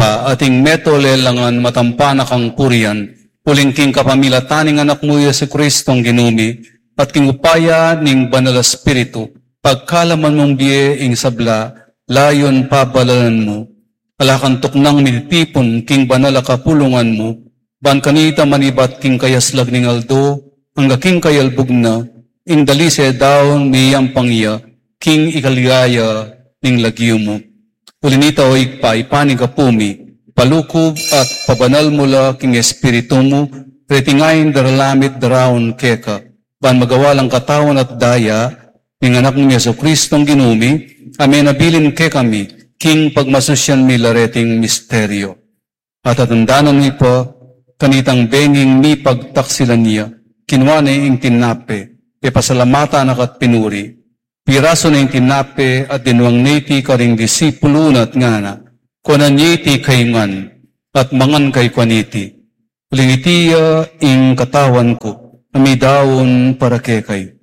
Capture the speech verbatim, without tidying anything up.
At ing meto lelangan matampa na kang purian, uling king kapamilatan ning Anak mu Jesucristong Ginu mi, at king upaya ning Banal Espiritu, pagkalaman mung bie ing sabla, layun pabalalan mu. Ala kang tuknang mititipun king banal a kapulungan mu, ban kanita manibat king kayaslag ning aldo, angga king kayalbug na, ing dalise daun miyampang ya, king ikaligaya ning lagyu mu. Uli nita, o Ibpa, ipan ning gapu mi, palukub at pabanal mu la king Espiritu mu, reting ain daralamit daraun keka, ban magawa lang katawan at daya ning Anak mu Jesucristong Ginu mi, a menabilin kekami, king pagmasusian mi la reting misteryo. At atandanan mi pa, kanitang benging mipagtaksilan ya, kinua ne ing tinape, pepasalamatan na ka't pinuri. Pirasu ne ing tinape at dinwang ne iti karing disipulu na at ngana, kuanan ye iti kayu ngan, at mangan kayu kaniti. Uling iti ya ing katawan ku, a midaun para kekayu.